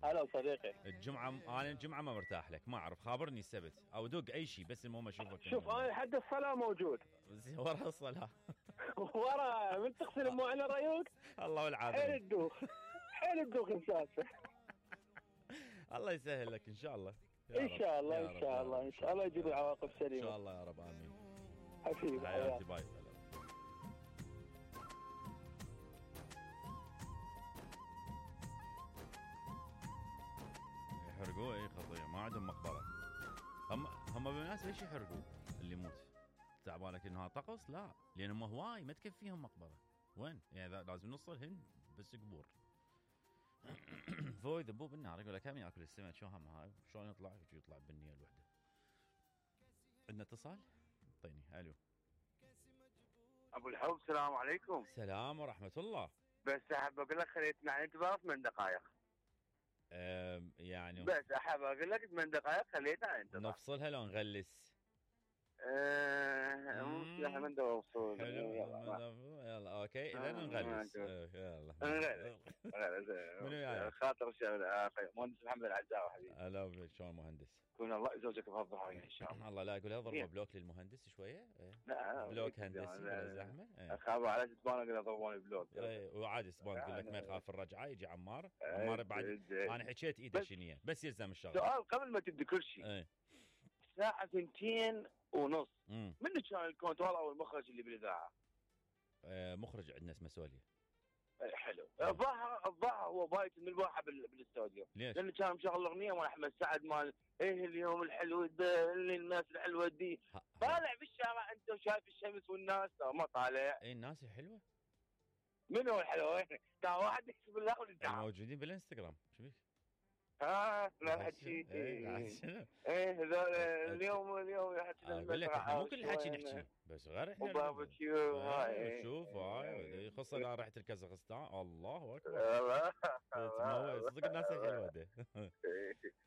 هلا صديقي. انا الجمعه ما مرتاح لك، ما اعرف، خابرني السبت او دق اي شيء، بس المهم اشوفك. شوف انا حد الصلاه موجود. ورا الصلاه. ورا من تغسل مو على رايك. الله والعافيه. حيل الدوخ مسافه. الله يسهل لك ان شاء الله. ان شاء الله ان شاء الله ان شاء الله يجيب العواقب سليمه ان شاء الله يا رب. امين حبيبي. حياتي باي. يحرقوه اي خطيه، ما عندهم مقبره. هم بالمناسبه ايش يحرقوه اللي يموت؟ تعبانك انها طقس؟ لا، لان هم هواي ما تكفيهم مقبره. وين يعني لازم نص الهند بس قبور. فوق يذبوه بالنار. يقول لك هم ياكل السمك شو هم هاي شلون يطلع بالنيه الوحده. عندنا اتصال؟ طيني. الو ابو الحب، السلام عليكم. السلام ورحمه الله. بس احب اقول لك خليتنا عن انتظار 8 دقائق. يعني بس احب اقول لك 8 دقائق خليتنا عن انتظار. نفصلها لو نغلس؟ احنا من دور وصول. حلو. يلا اوكي اذا نغلس. يلا نغلس. خاطر مهندس محمد العزاوي حبيبي. هلا شلون مهندس؟ كون الله يزوجك بهالظهر ان شاء الله. الله لا يقول ضربه بلوك للمهندس شويه. لا بلوك هندسي بلا زحمه. اخاف على اسبان اقول ضربوني بلوك. وعاد اسبان تقول لك ما يخاف الرجعه يجي عمار بعد. انا حكيت ايده شنيه بس يلزم الشغل. سؤال قبل ما تبدي كل شيء. الساعه 2:30 منو كان الكنترول او المخرج اللي بالاذاعه؟ مخرج عندنا اسمه سوليا. حلو. الظاهر هو بايت من الواحد بالاستوديو. ليش؟ لانه كان مشغل الاغنيه مال احمد سعد مال اليوم الحلو اللي الناس الحلوه دي. طالع بالشارع انت وشايف الشمس والناس. ما طالع. الناس حلوه. منو الحلوه؟ كان واحد يكتب الله والدعم موجودين بالانستغرام. شو بيك؟ لا حكيت. هذول اليوم اقول لك احنا مو كل الحكي نحكي بس غير احنا باربيكيو. شوف هاي يخص اذا رحت الكازاخستان. الله اكبر. صدق الناس الحلوه ده.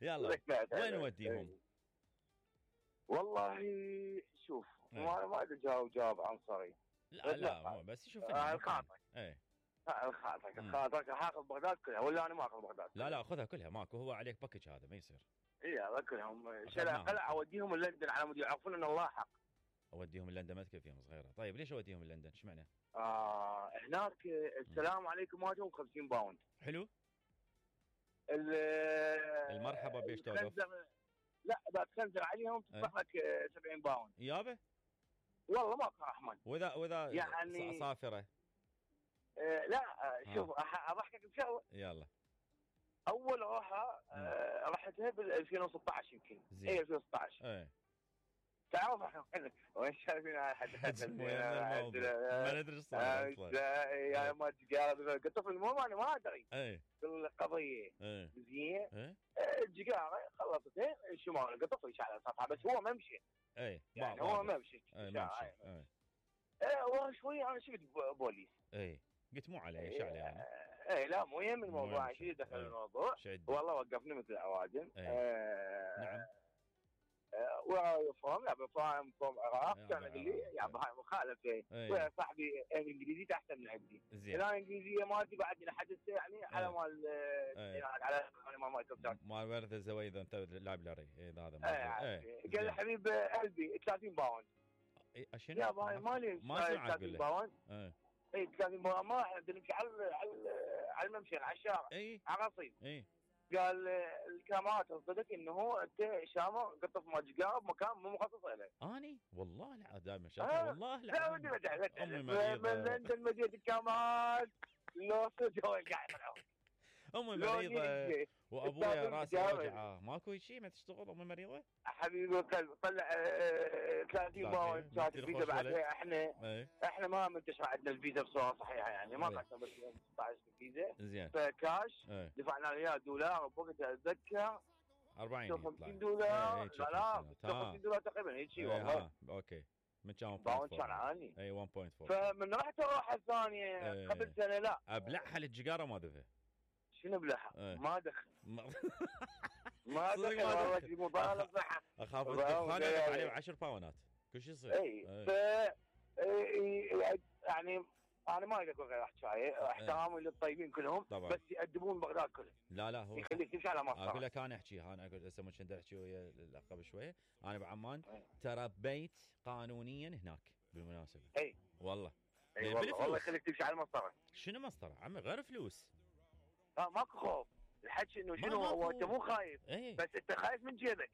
يلا وين نوديهم؟ والله شوف ما ادري جواب عنصري. لا بس شوف الخاطر. خاطرك حاخذ بغداد كلها ولا انا ما اخذ بغداد؟ لا خذها كلها ماكو. هو عليك باكج هذا ما يصير. كلهم قلع اوديهم لندن على مود يعرفون ان الله حق. اوديهم لندن ما تكفيهم صغيره. طيب ليش اوديهم لندن؟ ايش معنى؟ هناك السلام عليكم واجههم 50 باوند. حلو. المرحبا بيش توقف؟ لا اذا تخنزر عليهم تصبح لك 70 باوند. يابا والله ماكو رحمن. واذا يعني صافره؟ لا شوف اضحكك بشغله. يلا. اول روحه رحتها بال 2016 يمكن. اي 2016. تعرف احنا وين شايفين حد ما ندري ايش صار اصلا. يا ما تجاره قطف المهم انا ما ادري. القضيه زين. الجيجاره خلصتين الشمال قطف على السطح بس هو ما مشي. يعني هو ما مشي. وشوي انا شفت بوليس. قلت مو عليه ايش عليه انا؟ لا مو يهم الموضوع. شيء دخل الموضوع والله وقفني مثل العوادم. نعم. ويفهم لا بفهم فهم عراق. كان يقول لي يا هاي مخالفه. ويا صاحبي انجليزي احسن من عندي. انا الانجليزيه مالتي بعد لحد يعني على مال على مال ورث الزويده انت لايبراري. هذا قال لي حبيب قلبي 30 باوند. شنو؟ يا باي مالي ما سمعت 30 باوند. 30 باوند ما احنا نمشي على الممشى على الشارع. على رصيف. قال الكاميرات تصدق انه انت شامه قطف مجقاب مكان مو مخصص له. اني والله لا دائما شاطر والله لا. لا ودي امي مريضه من لندن مدينه الكاميرات لو سجوا قاعد امي مريضه وابويا راسي وجعه. ماكو شيء ما تشتغل امي مريضه؟ حبيبي طلع 30 باوند كانت الفيزا بعدها. احنا ما منتشر عندنا الفيزا بصوره صحيحه يعني ما قعدنا بس 16 الفيزا. زين. فكاش دفعنا له دولار بوقتها اتذكر 40 50 دولار. لا 50 دولار تقريبا هيك شيء والله. اوكي من كان باوند كان عالي. 1.4. فمن رحت الروحه الثانيه قبل سنه لا ابلعها للجيجاره ما دفع. شنو بلحق؟ ما دخل. ما دخل والله في مبالغه. اخاف الدخان عليه 10 باونات كل شيء يصير. يعني انا ما اقدر اقول غير حكايه، احترامي للطيبين كلهم طبعا. بس يأدبون بغداد كله. لا هو يخليك تمشي على مسطره. اقول لك انا احكيها، انا اقول هسه كنت احكي ويا الاخ قبل شويه. انا بعمان تربيت قانونيا هناك بالمناسبه. اي والله والله يخليك تمشي على المسطره. شنو مسطره عمي؟ غير فلوس. ماكو خوف. الحكي انه شنو هو انت مو خايف. بس انت خايف من جيبك.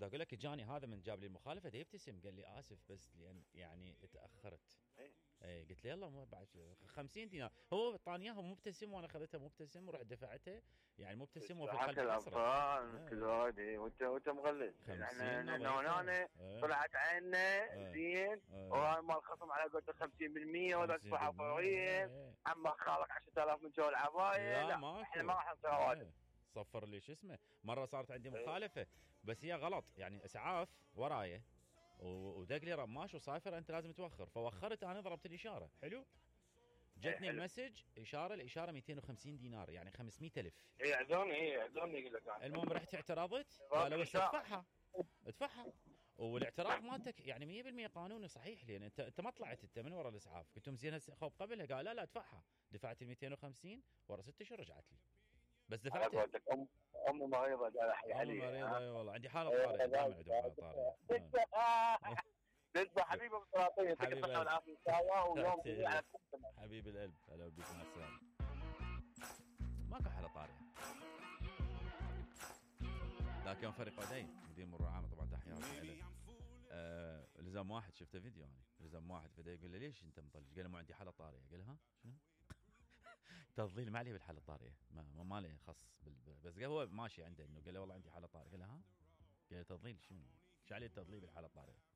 اقول لك جاني هذا من جاب لي المخالفه يبتسم قال لي اسف بس لان يعني تاخرت. اي قلت له يلا بعد 50 دينار. هو طاني اياها مبتسم وانا اخذتها مبتسم ورحت دفعتها يعني مبتسم وفي قلبي الاطفال كل هذه وانت مغلس. احنا هنا طلعت عيننا زين وهاي مال خصم على قولته 50% ولا تدفعها فوريا. عمك خالك 10,000 من جو العبايه. لا احنا ما راح نصير هواجد. صفر لي شو اسمه. مره صارت عندي مخالفه بس هي غلط يعني اسعاف ورايه ودق لي رماش وصافر انت لازم توخر. فوخرت انا ضربت الاشاره. حلو. جتني المسج الاشاره 250 دينار يعني 500,000. يعذوني يقول لك. المهم رحت اعترضت قالوا بس ادفعها. والاعتراض مالتك يعني 100% قانوني صحيح لان انت ما طلعت انت من ورا الاسعاف. قلت لهم زين خوف قبلها قال لا ادفعها. دفعت ال 250 ورا 6 اشهر رجعت لي بس دفعتها. امي مريضه قال احكي عليها. امي مريضه اي والله عندي حاله طارئه دائما عندي حاله طارئه. تذبح حبيبي ابو سلاطين يعطيك الصحه والعافيه ان شاء الله ويوم جميل على كل حبيب القلب. هلا بك مع السلامه. ماكو حاله طارئه ذاك يوم فريق عدين مدير مرور عامه طبعا تحيات له. لزم واحد شفته فيديو انا لزم واحد فدا يقول له ليش انت مطلج؟ قال له ما عندي حاله طارئه. قال ها شنو؟ تضليل ما عليه بالحاله الطارئه ما له خص بس هو ماشي عنده انه قال له والله عندي حاله طارئه. قال له ها؟ قال له تضليل شنو؟ ايش عليه التضليل بالحاله الطارئه؟